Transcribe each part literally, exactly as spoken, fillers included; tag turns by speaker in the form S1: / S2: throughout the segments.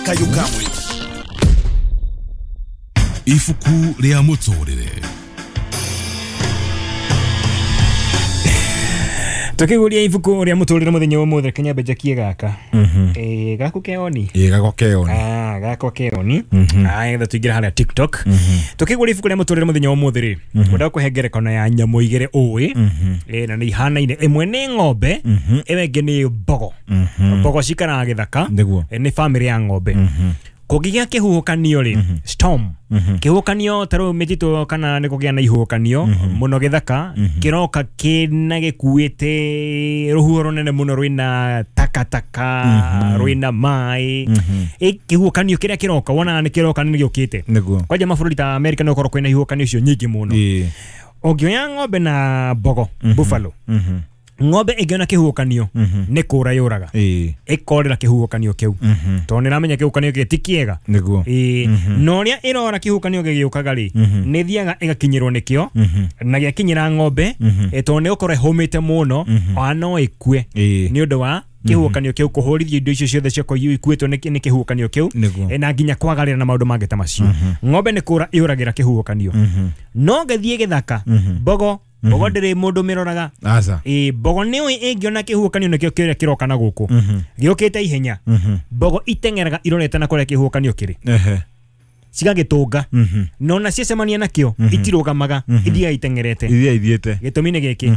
S1: Kayũ ka mũingĩ.
S2: Ibuku rĩa mũtũrĩre.
S3: Tukiguria ibuku ria muturire muthenya umuthi Kenya mbejakie gaka. Eh gaku keoni.
S4: Eh gakwa keoni.
S3: Ah gakwa keoni. Ah getha tuingira haria TikTok. Tukiguria ibuku ria muturire muthenya umuthi ri. Ngwenda kuhe ngerekano ya nyamu igere ui. Eh na ni ihanaine imwe ni ng'ombe, ĩyo ĩngĩ ni mbogo. Mbogo cikaraga gĩthaka. Ni family ya ng'ombe. Kũngĩgĩa kĩhuhũkanio rĩ, storm. Kĩhuhũkanio ta rĩu mĩtitũ kana nĩ kũgĩa na ihuhũkanio mũno gĩthaka, kĩroka kĩna gĩkuĩte rũhuho rũnene mũno rwĩna takataka, rwĩna maĩ. Kĩhuhũkanio kĩrĩa kĩroka wonaga nĩ kĩroka nĩ gĩũkĩte. Kwanja mabũrũri ta America nĩ gũkorwo kwĩna ihuhũkanio icio nyingĩ mũno. Ũngĩoya ng'ombe na mbogo, buffalo, ng'ombe ĩngĩona kĩhuhũkanio nĩ kũra yũraga, ĩkorĩra kĩhuhũkanio kĩu tondũ nĩ ĩramenya kĩhuhũkanio gĩkĩ ti kĩega. Na ũrĩa ĩrora kĩhuhũkanio gĩgĩũkaga rĩ, nĩ ĩthiaga ĩgakinyĩrwo nĩkĩo, na gĩakinyĩra ng'ombe tondũ nĩ gũkorwo ĩhũmĩte mũno, ona no ĩkue nĩ ũndũ wa kĩhuhũkanio kĩu kũhũrithio indo icio ciothe ciakorwo ikuĩtwo nĩ kĩhuhũkanio kĩu, na nginya kwagarĩra na maũndũ mangĩ ta macio. Ng'ombe nĩ kũra yũragĩra kĩhuhũkanio. No ngĩthiĩ gĩthaka, mbogo mbogo ndĩrĩ mũndũ mĩroraga. Ĩ mbogo nĩ ũĩ ĩngĩona kĩhuhũkanio nĩkĩo kĩrĩa kĩroka na gũkũ gĩũkĩte ihenya, mbogo iteng'eraga irorete na kũrĩa kĩhuhũkanio kĩrĩ, cigagĩtũnga, na ona ciacemania nakĩo itirũgamaga, ithiaga iteng'erete. Gĩtũmi nĩ gĩkĩ,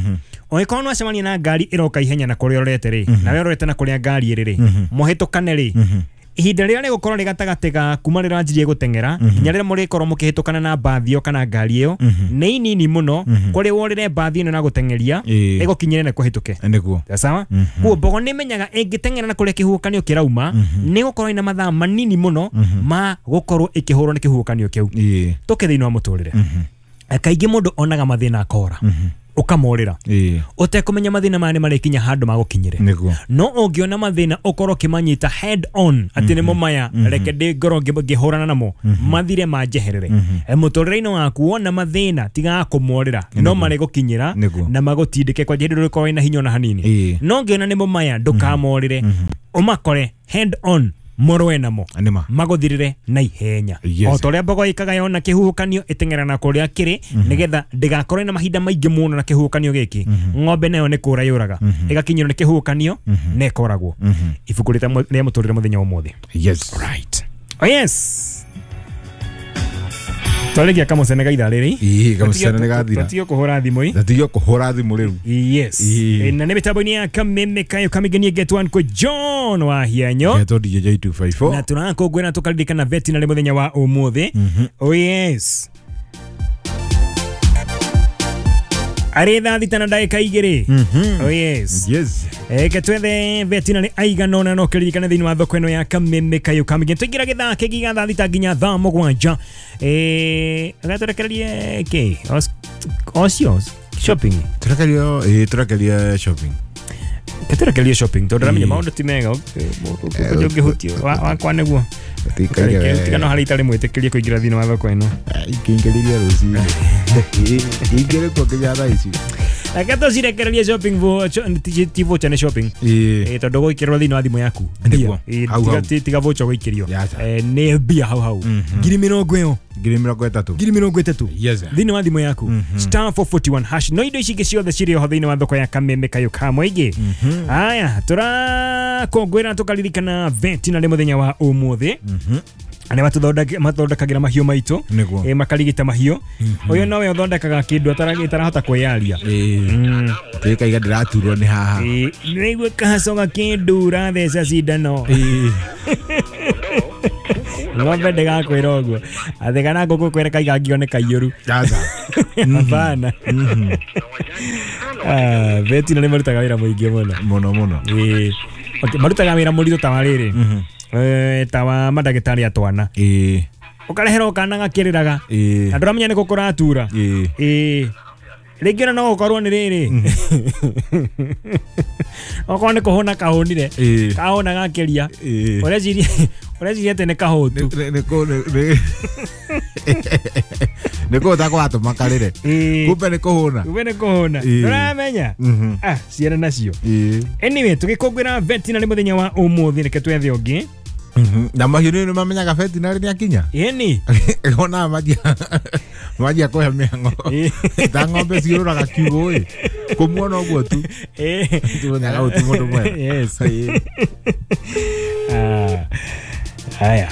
S3: ũngĩkorwo nĩwacemania na ngari ĩroka ihenya na kũrĩa ũrorete rĩ, nawe ũrorete na kũrĩa ngari ĩrĩ rĩ, mũhĩtũkane rĩ, ihinda rĩrĩa rĩgũkorwo rĩ gatagatĩ ga kuma rĩrĩa wanjirie gũteng'era nginya rĩrĩa mũrĩkorwo mũkĩhĩtũkana na mbathi ĩyo kana ngari ĩyo nĩ inini mũno kũrĩ worĩre mbathi ĩno na gũteng'eria ĩgũkinyĩre na kũhĩtũke. Sawa? Koguo mbogo nĩ ĩmenyaga ĩngĩteng'era na kũrĩa kĩhuhũkanio kĩrauma nĩ gũkorwo ĩna mathaa manini mũno ma gũkorwo ĩkĩhũrwo nĩ kĩhuhũkanio kĩu. Tũke thĩinĩ wa mũtũrĩre, kaingĩ mũndũ onaga mathĩna akora ukamorera utekumenya mathina maya nĩ marĩkinya handũ magũkinyĩre. No ũngĩona mathĩna ũkorwo ũkĩmanyita head on atĩ nĩmo maya, reke ndĩ ngorwo ngĩhũrana namo mathire manjeherere. Mũtũrĩre-inĩ waku wona mathĩna tigaga kũmorĩra, no marĩgũkinyĩra na magũtindĩke kwanja hĩndĩ ndũrĩkorwo wĩna hinya ona hanini. No ũngĩona nĩmo maya ndũkamorĩre, ũmakore head on, mũrũe namo magũthirĩre na ihenya. O ta ũrĩa mbogo ĩkaga yona kĩhuhũkanio ĩteng'era na kũrĩa kĩrĩ nĩgetha ndĩgakorwo na mahinda maingĩ mũno na kĩhuhũkanio gĩkĩ. Ng'ombe nayo nĩ kũra yũraga, ĩgakinyĩrwo nĩ kĩhuhũkanio na ĩkoragwo. Ibuku rĩa mũtũrĩre mũthenya wa ũmũthĩ.
S4: Yes.
S3: Right. Oh yes. Twarĩkia kamũcene ga ithaa rĩrĩ.
S4: Ĩĩ kamũcene nĩ gathira.
S3: Tũtige kũhũra thimũ ĩ.
S4: Tũtige kũhũra thimũ rĩu.
S3: Yes. Na nĩ mĩtambo-inĩ ya Kameme Kayo Kamigenie Get One kwa John wa Hianyo.
S4: Getwo D J two five four.
S3: Na tũrakũngũĩra tũkaririkana veterinary mũthenya wa ũmũthĩ. Oh yes. Arĩ thaa thita na ndagĩka igĩrĩ. Oh yes.
S4: Yes.
S3: Eke twethe veterinary aigana ũna no kĩririkane thĩinĩ wa thoko ĩno ya Kameme Kayo Kamigenie. Tũingĩra gĩthaa kĩngĩ gĩa thaa thita nginya thaa mũgwanja. Eh, agatũrekererie kĩ? Ocio shopping.
S4: Tũrekererio, ĩ tũrekererie shopping.
S3: Tũrekererie shopping tondũ ndĩramenya maũndũ ti mega ũngĩhutio wakwa nĩguo. Tiga no harĩa itarĩ mwĩtĩkĩrie kũingĩra thĩinĩ wa thoko ĩno.
S4: Ingĩingĩrĩria rũcinĩ. Ingĩrĩ kuo nginya thaa ici.
S3: Reke tũcirekererie shopping ti voucher nĩ shopping. Tondũ gũikĩrwo thĩinĩ wa thimũ yaku. Tiga voucher gũikĩrio. Nĩ mbia hau hau. Ngiri mĩrongo ĩyo.
S4: Ngiri mĩrongo ĩtatũ.
S3: Ngiri mĩrongo ĩtatũ. Thĩinĩ wa thimũ yaku. Star four forty one hash. No indo ici ingĩ ciothe cirĩ oho thĩinĩ wa thoko ya Kameme Kayo ka mũingĩ. Aya, tũrakũngũĩra tũkaririkana veterinary mũthenya wa ũmũthĩ. Arĩa mathondekagĩra mahiũ maitũ, makarigita mahiũ. Ũyũ nowe ũthondekaga kĩndũ atarahota kwĩyaria.
S4: Tĩkaiga ndĩraturwo nĩ haha.
S3: Nĩigua kahaco gakĩndura theca cindano. Ng'ombe ndĩgakwĩra ũguo atĩ kana ngũkũ kwĩra kaiga ngio nĩ kaiyũru. Hapana. Veterinary marutaga wĩra mũingĩ mũno
S4: mũno mũno.
S3: Marutaga wĩra mũritũ ta wa rĩrĩ, ta wa mandagĩtarĩ a twana. Ũkareherwo kana gakĩrĩraga na ndũramenya nĩkũ kũratura. Ĩĩ rĩngĩ ona no gũkorwo nĩ rĩrĩ, okorwo nĩ kũhũna kahũnire, kahũna gakĩria, ũreciria ũreciria atĩ nĩ kahũtu.
S4: Nĩ kũhũta kũratũma karĩre, kumbe nĩ kũhũna.
S3: Kumbe nĩ kũhũna. Ndũramenya? Ah, ciana nacio. Anyway, tũgĩkũngũĩra veterinary mũthenya wa ũmũthĩ, reke twethe ũngĩ.
S4: Na mahiũ nĩ mamenyaga veterinary nĩ akinya.
S3: Ĩni.
S4: Ona manjia manjia kũhe mĩhang'o. Ta ng'ombe ciũrũraga kiugũ ĩ. Kũmuona ũguo tu. Timenyaga ũyũ ti mũndũ mwega.
S3: Yes. Ah. Haya.